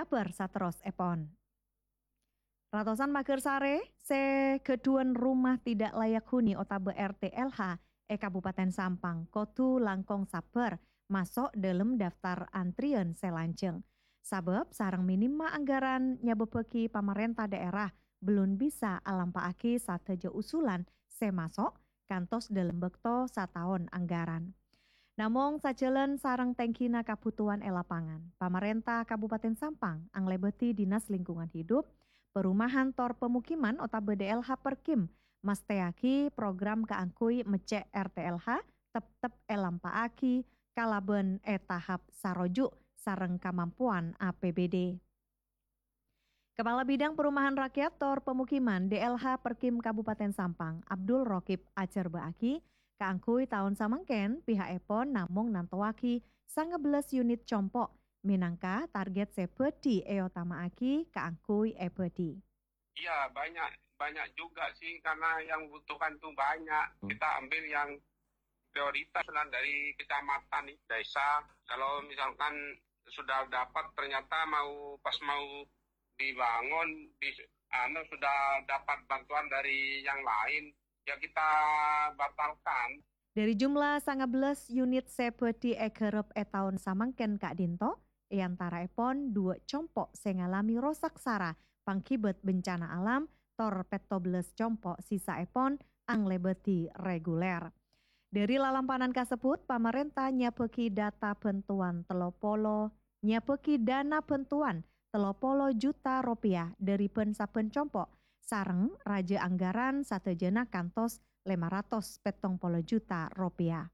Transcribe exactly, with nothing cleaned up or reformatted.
Kabar saterrossèpon. Ratosan maghârsarè sè ghâdhuwân rumah tidak layak huni otabâ R T L H è Kabupaten Sampang kodhu langkong sabbhâr maso' dâlem daftar antriyân sè lanjhâng. Sabâb sareng minimma anggaran nyabâbbhâghi pamarènta dhaèra bellun bisa alampa'aghi sadhâjâ usulan sè maso' kantos dâlem bâkto sataon anggaran. Namong sajhâlân sareng tèngghina kabhutowan è lapangan, pamarènta Kabupaten Sampang anglèbâdhi Dinas Lingkungan Hidup, Perumahan tor Pemukiman otabâ D L H Perkim mastèyaghi program kaangghuy meccè' R T L H teptep èlampa'aghi kalabân è tahap saroju' sareng kamampowan A P B D. Kepala Bidang Perumahan Rakyat tor Pemukiman D L H Perkim Kabupaten Sampang, Abdul Rokib ajhârbâ'âghi, kaangghuy taon samangkèn piha'èpon namong nantowaghi sanga bellâs unit compo' mènangka target sè bhâdhi èotama'aghi kaangghuy èbhâdhi. Iya, banyak banyak juga sih karena yang butuhkan tuh banyak. Kita ambil yang prioritas lah dari kecamatan, desa. Kalau misalkan sudah dapat, ternyata mau pas mau dibangun, di anu, sudah dapat bantuan dari yang lain, ya kita batalkan. Dhâri jumlah sanga bellâs unit sè bhâdhi èghârep è taon samangkèn ka'dinto, è antaraèpon duwâ' compo' sè ngalami rosak sara pangghibât bencana alam, tor pètto bellâs compo' sisaèpon anglèbâdhi reguler. Dhâri lalampanan kasebbhut, pamarènta nyabâghi data bhântowan tello polo, nyabâghi dana bhântowan tello polo juta ropèya dhâri bân-sabbhân compo', sareng rajâ anggaran sadhâjâna kantos lèma ratos pèttong polo juta ropèya.